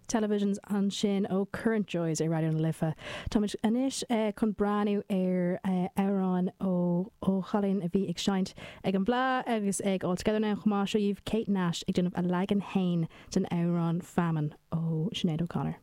Televisions ansin ó Current Joys ar Raidió na Life. Táimid anois chun breathnú ar amhrán ó ó chailín a bhí ag seinnt ag an bhFleadh agus ag All Together Now chomh maith. Seo dhaoibh Kate Nash ag déanamh a leagan fhéin den amhrán Famine ó Sinéad O'Connor.